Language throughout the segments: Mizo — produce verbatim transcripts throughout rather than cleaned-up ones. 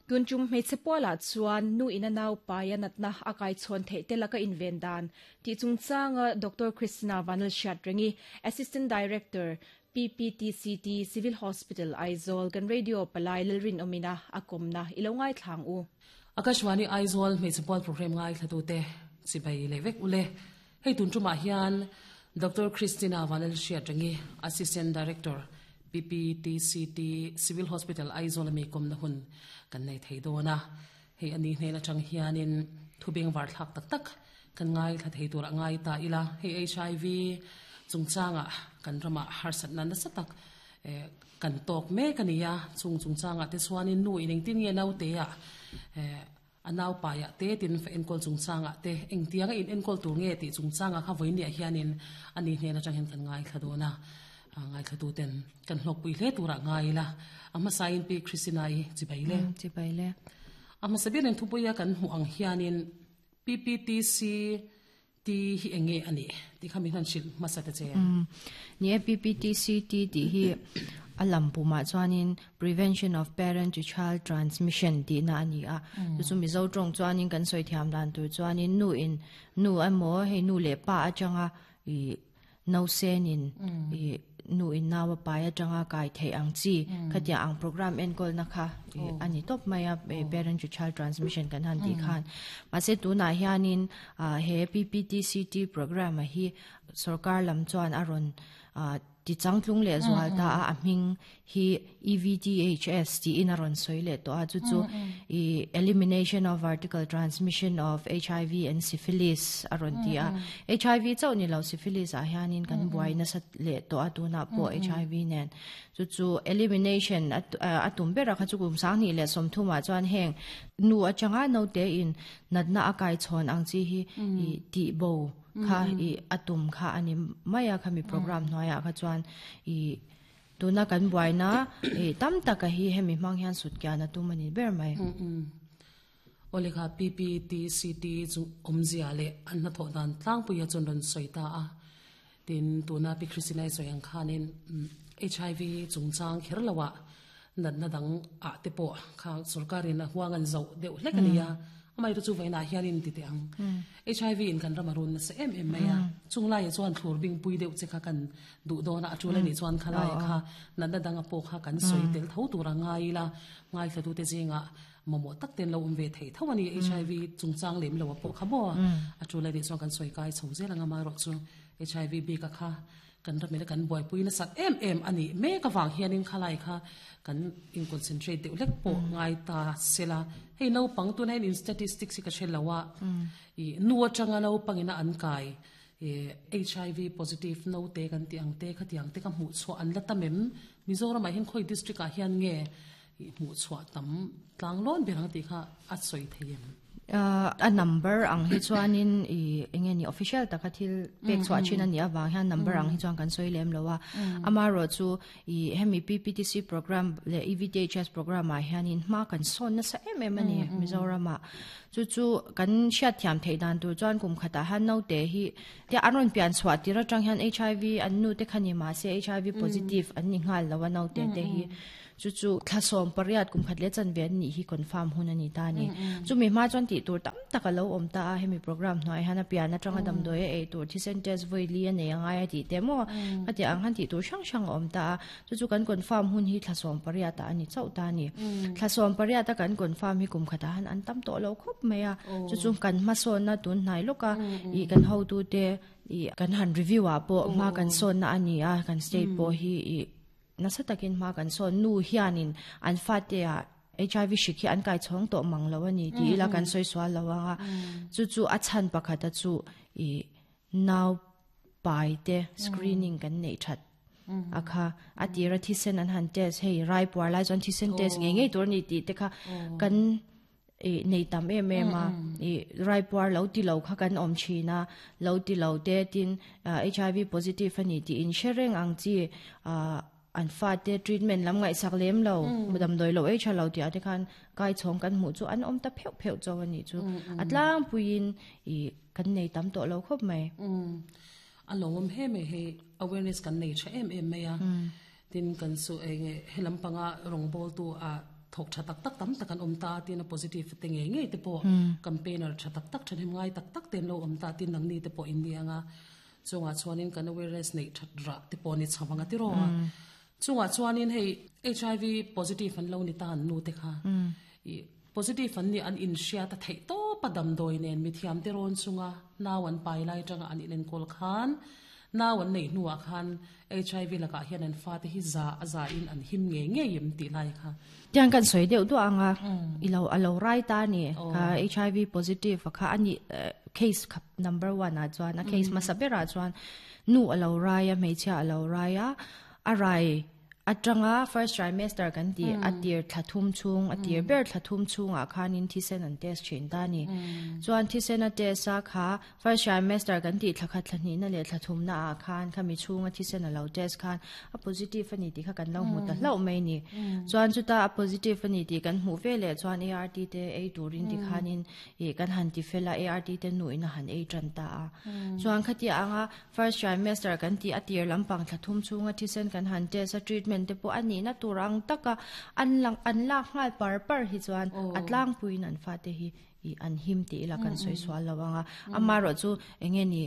Tunchum hmeichhe pualah chuan nu ina nau paia natna a kai chhawn theih te laka inven dan tih chungchanga Doctor Christina Vanlalhriatrengi, Assistant Director, P P T C T Civil Hospital Aizawl kan radio palai lalrin omina a kawmna i lo ngaithla ang u. Akashvani Aizawl hmeichhe pual program ngaithlatute chibai le vek ule. Hei tun tumah hian Doctor Christina Vanlalhriatrengi, Assistant Director, P P T C T Civil Hospital Aizawl ami kawmna hun kan nei thei dawn a. Hei ani hnen atang hianin thubeng var thlak tak tak kan ngai thla thei tur a ngai ta ila. Hei H I V chungchanga kan rama harsat na nasa tak eh, kan tok mek ania. Chung chungchanga te chuanin nu in engtin nge nau te a eh, anau paya te tin fa enkol chungchanga te engtianga in enkol tur nge ti chungchanga kha voini a hianin ani hnen atang hian kan ngai thla dawna ngai thla tu ten kan hlok pui hle tura ngai la. Ama sain pi Christina i chibai le. Chibai le. Ama sabirin thupuia kan hmu ang hianin P P T C T hi enge ani ti khami han shil masata che? Ni e, P P T C T ti hi alam puma chuanin prevention of parent to child transmission ti na ani a. Chu chu Mizo tawng chuanin kan soi thiam dan tur chuanin nu in nu emaw hei nu leh pa atanga i no senin i nu in nawa pai atanga kai thei ang chi khatia ang program enkol na kha i ani top mai a, e, parent to child transmission kan han ti khan. Mase tuna hianin a he P P T C T program a hi sarkar lam chuan aron a ti changtlung le zual ta a, a hming hi E V T H S ti in aron soi le to a. Chu chu i elimination of vertical transmission of H I V and syphilis aron ti a. H I V chau ni lo, syphilis a hianin kan buai na sat le to a tuna po H I V nen. Chu chu elimination at atum bera kha chu kum sang ni le som thuma chuan heng nu atanga no te in natna akai chhon ang chi hi i ti bo kha i atum kha ani maya khami program hnuaia kha chuan i tuna kan buaina e tam taka hi hemi hmang hian sut kyan atum ani ber mai. Ole kha, P P T C T chu omzia le an na tho dan tlang puia chon ron soita a. Tin tuna pi Christina soyang khanin H I V chungchang kherlawa nat na dang a te po kha sarkarin a huangan zo deuh hlek ania. Amai ru chu vaina hianin ti te ang H I V in kan ramarun na se em em mai a. Chunglai chuan thlur bing pui deuh che kha kan du dona achula ni chuan khalai kha nat na dang a po kha kan soi tel tho tura ngai la. Ngai thla tu te zinga momo tak ten lo um ve thei tho ani H I V chungchang lem lo po kha mo achula ni chuan kan soi kai chho zel anga. Ma ro chu H I V bi ka kha kan ramela kan boy pui na sak em em ani me ka wang hianin khalai kha kan in concentrate deuh lek po ngai ta sela. Hei no pang tu in statistics ka thelawa i nuwa changa no pangina an kai e H I V positive no te kan ti ang te kha tiang te ka mu chho an la tamem Mizoram a hin khoi district a hian nge i mu chho tam tlang lon berang ti kha a soi theiem? uh, a number ang hi chuanin i enge ni official taka thil pek chhuah thin ani awang hian number ang hi chuan kan soi lem lowa. Ama ro chu i hemi P P T C program le E V T H S program ah hianin hma kan son na sa em em ani Mizoram a. Chu chu kan hriat thiam thei dan tur chuan kum khata han no te hi te aron pian chhuah tira tang hian H I V an nu te khani ma se H I V positive an ni ngal lawa. No te te hi chu chu thlasom pariat kum khat le chan ve ni hi confirm hun ani ta ni. Chu mi ma chuan ti tur tam taka lo om ta a. Hemi program hnoi hana pian atanga dam doi e tur thisen test voi li ane angai ti te mo ati ang han ti tur sang sang om ta a. Chu chu kan confirm hun hi thlasom pariat ani chau ta ni. Thlasom pariat kan confirm hi kum khata han an tam to lo khop mai a. Chu chu kan ma son na tun hnai loka i kan ho tu te i kan han review a po ma kan son na ani a. Kan state po hi i nasa takin ma kan son nu hianin an fa te a H I V shikhi an kai chong to mang lo ani ti ila kan soi swal lo anga. Chu chu a chan pakhata chu i now pai te screening kan nei that akha atira thisen an han test. Hei rai puar lai chuan thisen test nge nge tur ni ti te kha kan e nei tam em em a. E rai puar lo ti lo kha kan om thina lo ti lo te tin H I V positive ani ti in sharing ang chi a an fa te treatment lam ngai sak lem lo mudam doi lo e tha lo ti ate khan kai chong kan mu chu an om ta pheu pheu chaw ani chu atlang puin i kan nei tam to lo khop mai. A longom he me he awareness kan nei tha em em mai a. Tin kan su enge helam panga rong bol tu a. thok tha tak tak tam tak an om ta tin a positive te nge nge te po campaigner tha tak tak thanem ngai tak tak ten lo om ta tin nang ni te po in nianga chunga chuanin kan awareness nei that ra te po ni chawanga ti ro chunga chuanin hei H I V positive an lo ni ta an nu te kha i positive an ni an in shia ta thei to padam doi nen mi thiam te ron chunga naw an pai lai tanga an in kol khan naw an nei nuwa khan H I V laka hian an fa te hi za za in an him nge nge yim ti lai kha tiang kan soi deuh du anga ilo alo rai ta ni ka H I V positive kha ani case number one a chuan a case ma sabera chuan nu alo rai a hmeichhia alo rai a a rai atanga first trimester kan ti atir thathum chung atir ber thathum chung a khanin thisen an test chin ta ni chuan thisen a test a kha first trimester kan ti thlakhat thlani na le thathum na a khan khami chung a thisen a lo test khan a positive ani ti kha kan lo mu ta hlo mai ni chuan chuta a positive ani ti kan hmu ve le chuan A R T te ei turin ti khanin e kan han ti fela A R T te nu ina han ei tran ta a chuan khati anga first trimester kan ti atir lampang thathum chung a thisen kan han test a treatment te po ani na turang taka an lang an lak ngal par par hi chuan atlang puin an fa te hi i an him ti ila kan soi swal lawanga amaro chu enge ni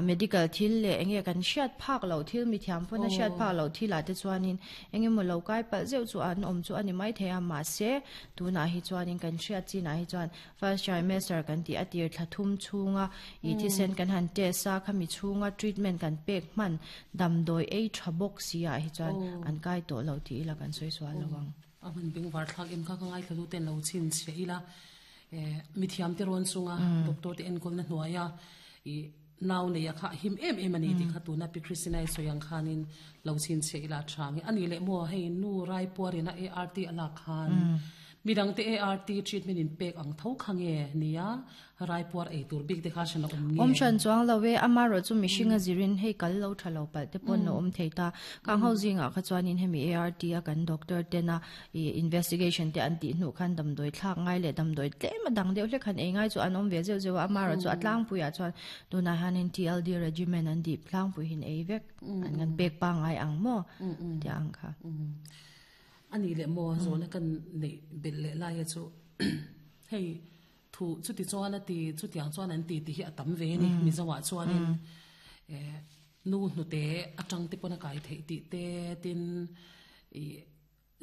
medical thil le enge kan hriat phak lo thil mi thiam pon a hriat phak lo thila te chuanin enge mo lo kai pal zeu chu an om chu ani mai theia ma se tuna hi chuanin kan hriat chi na hi chuan first trimester kan ti atir thlathum chunga i thisen kan han test a khami chunga treatment kan pek man damdoi ei thabok sia hi chuan an kai to lo ti ila kan soi swal lawang aman bing war thlak em kha ka ngai thlu ten lo chin che ila eh mithiam te ron sunga doctor te enkol na hnuaya i naw nei kha him em em ani ti kha tuna pi Christina soyang khanin lo chin che ila changi ani le mo hei nu rai puarina A R T ala khan midang te A R T treatment in pek ang tho khange nia rai puar ei tur big te kha chana om nge om chan chuang lawe amaro chu mishinga zirin hei kal lo thalo pal te pon no om theita kang ho zinga kha chuanin hemi A R T a kan doctor te na i investigation te an ti hnu khan dam doi thlak ngai le dam doi tlem adang deuh hle khan ei ngai chu an om ve zeu zeu amaro chu atlang puia chuan tuna hanin T L D regimen an di tlang pui hin ei vek an ngan pek pa ngai ang mo ti ang kha ani le mo zona kan nei bel le lai chu hei thu chu ti chuan a ti chu tiang chuan an ti ti hi atam ve ni mi zawa chuanin eh nu hnu te atang te pona kai thei ti te tin i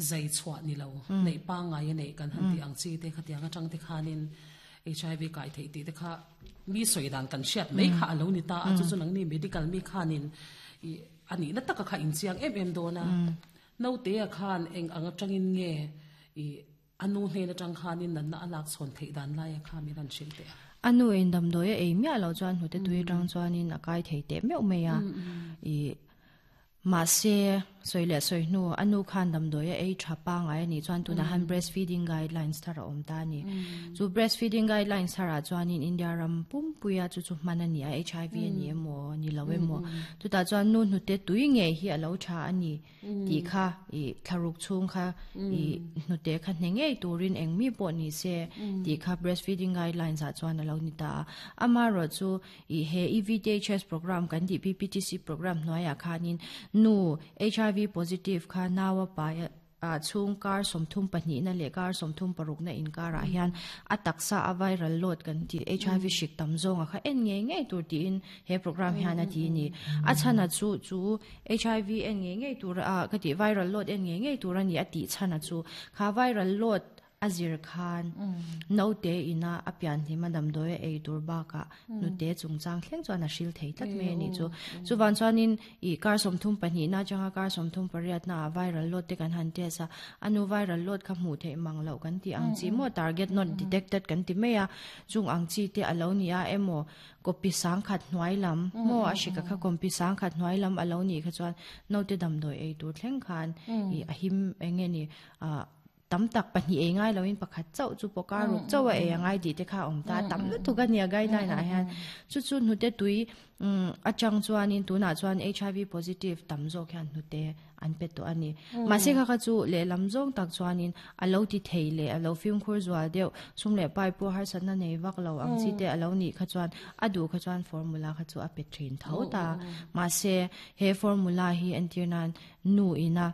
zai chhuat ni lo nei pa ngai nei kan han ti ang chi te kha tiang atang te khanin H I V kai thei ti te kha mi soidan kan hriat mai kha alo ni ta a chu chu nang ni medical mi khanin i ani na taka kha in chiang em em dona no te a khan eng anga tangin nge i anu hne na tang khanin nan na alak chon thei dan lai a kha mi ran sil te anu in dam doi ei mi alo chuan hnute tui tang chuanin a kai thei te meu mei a i ma se soile soi nu anu khan dam doi ei thapa ngai ani chuan tuna han breastfeeding guidelines thara om ta ni chu breastfeeding guidelines thara chuan in India ram pum puya chu chu manani a H I V ani emo ni lawe mo chu ta chuan nu hnute tui nge hi alo tha ani ti kha i tharuk chung kha i hnute kha hne ngei turin eng mi po ni se ti kha breastfeeding guidelines a chuan alo ni ta ama ro chu i he E V T H S program kan di P P T C program noya khanin nu H I V positive kha nawa pa a chung kar somthum pahnih na le kar somthum paruk na in kar ah hian a taksa a viral load kan ti H I V hrik tam zawng a kha en nge nge tur tiin he program hian a ti ni a chhana chu chu H I V en nge nge tur a ka ti viral load en nge nge tur ani a ti chhana chu kha viral load azir khan no te ina apian hi madam doi ei tur ba ka nu te chungchang thleng chuan a hril thei tlat me ni chu chuwan chuanin i kar somthum pahnih na changa kar somthum pariat na viral load te kan han te sa anu viral load kha hmu thei mang lo kan ti ang chi mo target not detected kan ti meia chung ang chi te alo ni a emo kopi sang khat hnuai lam mo a shika kha kompi sang khat hnuai lam alo ni kha chuan no te dam doi ei tur thleng khan i ahim enge ni a tam tak pahnih ei ngai loin pakhat chau chu poka ruk chau a ei ngai di te kha om ta tam lu tu ka nia guideline a hian chu chu hnute tui achang chuanin tuna chuan H I V positive tam zawk hian hnute an pe to ani ma se kha kha chu le lam zawng tak chuanin alo ti thei le alo film khur zual deuh sum le pai pu har san na nei vak lo ang chi te alo ni kha chuan adu kha chuan formula kha chu a pe thin tho ta ma se he formula hi antirnan nu ina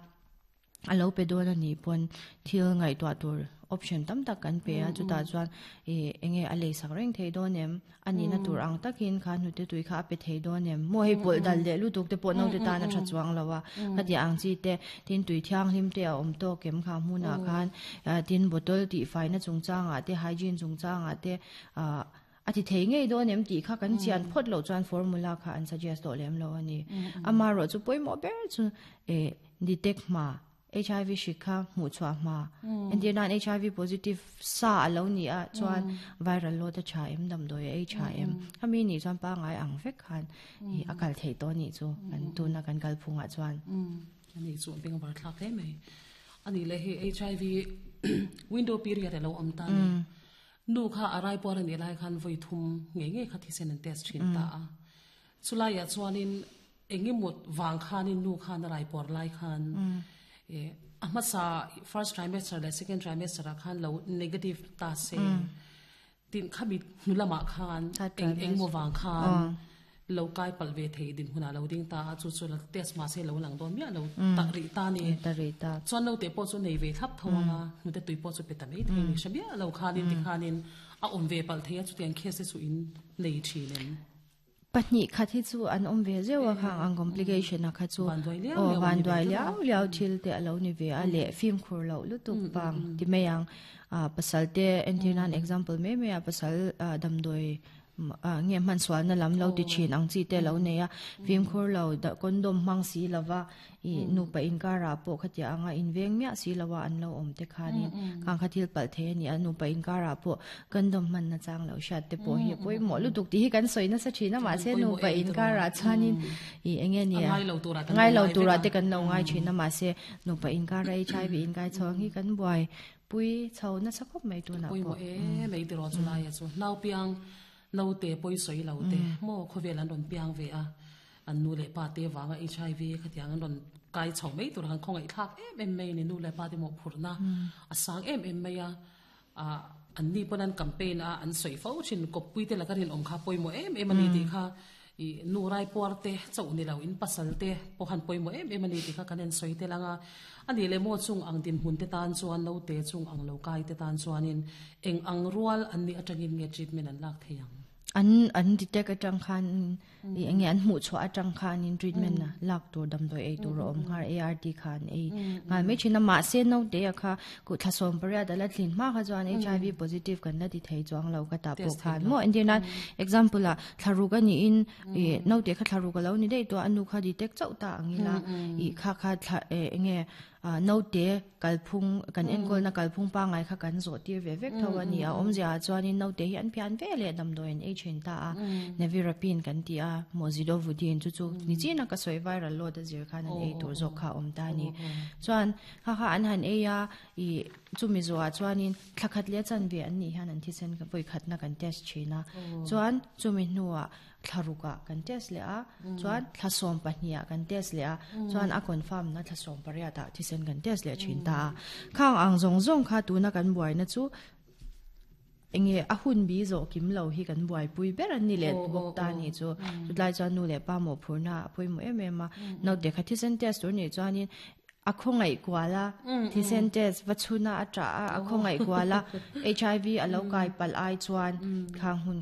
Alo pe don ani pon thil ngai to tur option tam tak kan pe a chuta chuan e enge a lei sak reng thei don em ani na tur ang takin kha nu te tui kha pe thei don em mo hei pol dal le lu tuk te pawh no te ta na tha chuang lawa khati ang chi te tin tui thiang hlim te a om to kem kha hmuna khan tin bottle ti fai na chungchanga te hygiene chungchanga te a ati thei ngei don em ti kha kan chian phot lo chuan formula kha an suggest to lem lo ani ama ro chu poimo ber chu e detect ma H I V shikha mu chwa ma and nan H I V positive sa alo ni a chuan viral lo ta cha em dam doi H I M ami ni chuan pa ngai ang vek khan i akal thei to ni chu kan tu na kan kal phunga chuan ani chu beng war thlak he mai ani le he H I V window period lo om ta ni nu kha arai por ani lai khan voi thum nge nge kha thi sen test thin ta a chulai ya chuanin engimut wang khanin nu khan arai por lai khan e amasa first trimester le second trimester khan lo negative ta se tin khabi nulama khan eng eng mo wang khan lo kai palve thei din huna lo ding ta chu chu la test ma se lo lang don mi lo ta ri ta ni ta ri ta chuan lo te po chu nei ve thap thawanga nu te tui po chu pe ta mai thei ni shabia lo khanin ti khanin a om ve pal thei chu tiang case chu in nei thinen pahni khathi chu an om ve zewa khang ang complication a kha chu o van dwai liao liao thil te alo ni ve a le film khur lo lutuk pang ti meyang a pasal te entinan example me me a pasal dam doi nge man swal na lam lo ti chin ang chi te lo ne ya film khur lo da condom mang si lawa i nu pa in ka ra po khatia anga in veng mya si lawa an lo om te khanin khang khathil pal the ni anu pa in ka ra po condom man na chang lo shat te po hi poi mo lu tuk ti hi kan soina sa thina ma se nu pa in ka ra chanin i enge ni ngai lo tura kan ngai lo tura te kan lo ngai thina ma se nu pa in ka ra H I V in kai chong hi kan buai pui chho na sakhop mai tu na poi mo e mai ti ro chu lai chu nau piang no te poi soi lo te mo khovel an ron piang ve a an nu le pa te wanga H I V khatiang an ron kai chho mai tur han khong ai thak em em mai ni nu le pa te mo phurna a sang em em mai a an ni pon an campaign a an soi fo chin kop pui te lakarin om kha poi mo em em ani ti kha i nu rai por te chau ni lo in pasal te po han poi mo em em ani ti kha kanen soi te langa ani le mo chung ang din hun te tan chuan lo te chung ang lo kai te tan chuanin eng ang rual an ni atangin nge treatment an lak theiang an an detect atang khan i enge an mu chho atang khan in treatment na lak tur dam doi ei tur om har A R T khan ei ngai me china ma se no te akha ku thlasom paria dala thlin ma kha chuan H I V positive kan la ti thei chuang lo ka ta po khan mo indian example a thlaruga ni in e no te kha thlaruga lo ni dei to anu kha detect chau ta angila i kha kha enge no te kalphung kan enkol na kalphung pa ngai kha kan zo tir ve vek thawa ni a omzia chuan in no te hi an pian ve le dam doen ei chen ta a nevirapine kan ti a mozidovudin chu chu ni china ka soi viral lo da zir khan an ei tur zo kha om ta ni chuan kha kha an han ei a i chumi zo a chuan in thlakhat le chan ve an ni han an thi sen ka poi khat na kan test china chuan chumi hnuwa thlaruka kan test le a chuan thlasom pahnia kan test le a chuan a confirm na thlasom paria ta thisen kan test le thin ta khang ang zong zong kha tu na kan buai na chu enge a hun bi zo kim lo hi kan buai pui ber an ni le bok ta ni chu chutlai chuan nu le pa mo phurna pui mo em em a no de kha thisen test tur ni chuan in a khongai kwala thisen test vachuna atra a khongai kwala H I V alo kai pal ai chuan khang hun